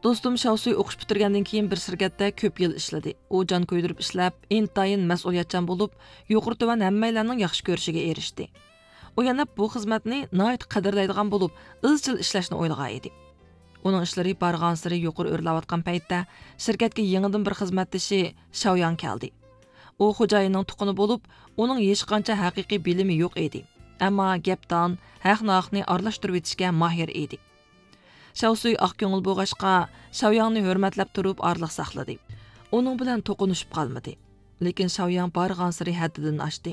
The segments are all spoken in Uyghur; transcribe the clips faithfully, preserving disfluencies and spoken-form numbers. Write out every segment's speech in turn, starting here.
دوستۇم شاۋسۈي ئوقۇش پۈتتۈرگەندىن كېيىن بىر شىركەتتە كۆپ يىل ئىشلىدى. ئۇ جان كۆيدۈرۈپ ئىشلەپ، ئىنتايىن مەسئۇلىيەتچان بولۇپ، يۇقىرى تۆۋەن ھەممەيلەننىڭ ياخشى كۆرۈشىگە ئېرىشتى. ئۇ يەنە بۇ خىزمەتنى ناھايىتى قەدىرلەيدىغان بولۇپ، ئىزچىل ئىشلەشنى ئويلىغان ئىدى. ئۇنىڭ ئىشلىرى بارغانسېرى يۇقىرى ئۆرلەۋاتقان پەيتتە، شىركەتكە يېڭىدىن بىر خىزمەتدىشى شاۋياڭ كەلدى. ئۇ خوجايىننىڭ تۇغقىنى بولۇپ، ئۇنىڭ ھېچقانچە ھەقىقىي بىلىمى يوق ئىدى. ئەمما گەپدان، ھەق-ناھەقنى ئارىلاشتۇرۇۋېتىشكە ماھىر ئىدى. شاۋسۈي ئاق كۆڭۈل بولغاچقا، شاۋياڭنى ھۆرمەتلەپ تۇرۇپ ئارىلىق ساقلىدى. ئۇنىڭ بىلەن توقۇنۇشۇپ قالمىدى. لېكىن شاۋياڭ بارغانسېرى ھەددىدىن ئاشتى.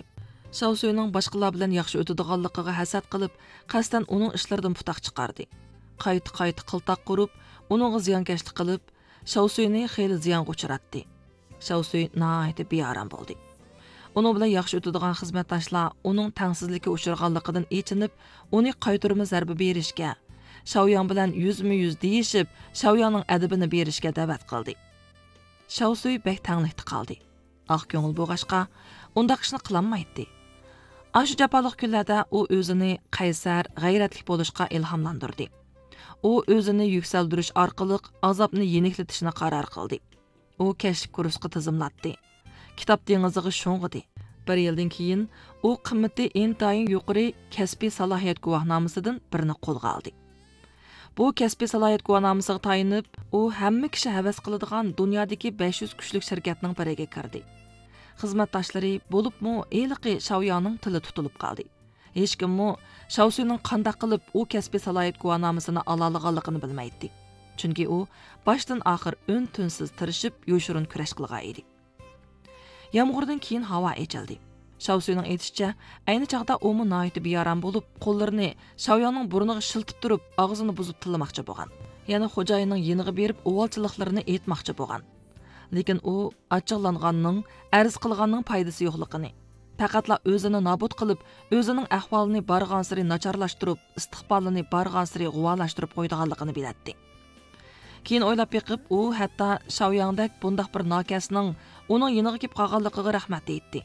شاۋسۈينىڭ باشقىلار بىلەن ياخشى ئۆتىدىغانلىقىغا ھەسەت قىلىپ، قەستەن ئۇنىڭ ئىشلىرىدىن پۇتاق چىقاردى. قايتا-قايتا قىلتاق قۇرۇپ، ئۇنىڭغا زىيانكەشلىك قىلىپ، شاۋسۈينى خېلى زىيانغا ئۇچراتتى. شاۋسۈي ناھايىتى بىئارام بولدى. ئۇنىڭ بىلەن ياخشى ئۆتىدىغان خىزمەتداشلار ئۇنىڭ تەڭسىزلىككە ئۇچرىغانلىقىدىن ئېچىنىپ، ئۇنى قايتۇرما زەربە بېرىشكە، شاۋياڭ بىلەن يۈزمۇ يۈز دېيىشىپ، شاۋياڭنىڭ ئەدىپىنى بېرىشكە دەۋەت قىلدى. شاۋسۈي بەك تەڭلىكتە قالدى. ئاق كۆڭۈل بولغاچقا، ئۇنداق ئىشنى قىلالمايتتى. ئاشۇ جاپالىق كۈنلەردە ئۇ ئۆزىنى قەيسەر، غەيرەتلىك بولۇشقا ئىلھاملاندۇردى. ئۇ ئۆزىنى يۈكسەلدۈرۈش ئارقىلىق ئازابنى يېنىكلىتىشنى قارار قىلدى. ئۇ كەچلىك كۇرسقا تىزىملاتتى. كىتاب دېڭىزىغا شۇڭغۇدى. بىر يىلدىن كېيىن ئۇ قىممىتى ئىنتايىن يۇقىرى كەسپىي سالاھىيەت گۇۋاھنامىسىدىن بىرنى قولغا ئالدى. بۇ كەسپىي سالاھىيەت گۇۋاھنامىسىغا تايىنىپ، ئۇ ھەممە كىشى ھەۋەس قىلىدىغان دۇنيادىكى بەش يۈز كۈچلۈك شىركەتنىڭ بىرىگە كىردى. خىزمەتداشلىرى، بولۇپمۇ ھېلىقى شاۋياڭنىڭ تىلى تۇتۇلۇپ قالدى. ھېچكىممۇ شاۋسۈينىڭ قانداق قىلىپ ئۇ كەسپىي سالاھىيەت گۇۋاھنامىسىنى ئالالىغانلىقىنى بىلمەيتتى. چۈنكى ئۇ باشتىن ئاخىر ئۈن-تىنسىز تىرىشىپ، يوشۇرۇن كۈرەش قىلغان ئىدى. يامغۇردىن كېيىن ھاۋا ئېچىلدى. شاۋسۈينىڭ ئېيتىشىچە، ئەينى چاغدا ئۇمۇ ناھايىتى بىئارام بولۇپ، قوللىرىنى شاۋياڭنىڭ بۇرنىغا شىلتىپ تۇرۇپ، ئاغزىنى بۇزۇپ تىللىماقچى بولغان. يەنە خوجايىننىڭ يېنىغا بېرىپ، ئۇۋالچىلىقلىرىنى ئېيتماقچى بولغان. لېكىن ئۇ ئاچچىقلانغاننىڭ، ئەرز قىلغاننىڭ پايدىسى يوقلۇقىنى، پەقەتلا ئۆزىنى نابۇت قىلىپ، ئۆزىنىڭ ئەھۋالىنى بارغانسېرى ناچارلاشتۇرۇپ، ئىستىقبالىنى بارغانسېرى غۇۋالاشتۇرۇپ قويىدىغانلىقىنى بىلەتتى. كېيىن ئويلاپ بېقىپ، ئۇ ھەتتا شاۋياڭدەك بۇنداق بىر ناكەسنىڭ ئۇنىڭ يېنىغا كېلىپ قالغانلىقىغا رەھمەت دەيتتى.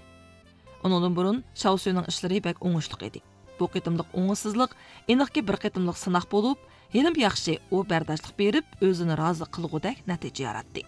ئۇنىڭدىن بۇرۇن شاۋسۈينىڭ ئىشلىرى بەك ئوڭۇشلۇق ئىدى. بۇ قېتىملىق ئوڭۇشسىزلىق ئېنىقكى بىر قېتىملىق سىناق بولۇپ، ھېلىمۇ ياخشى، ئۇ بەرداشلىق بېرىپ، ئۆزىنى رازى قىلغۇدەك نەتىجە ياراتتى.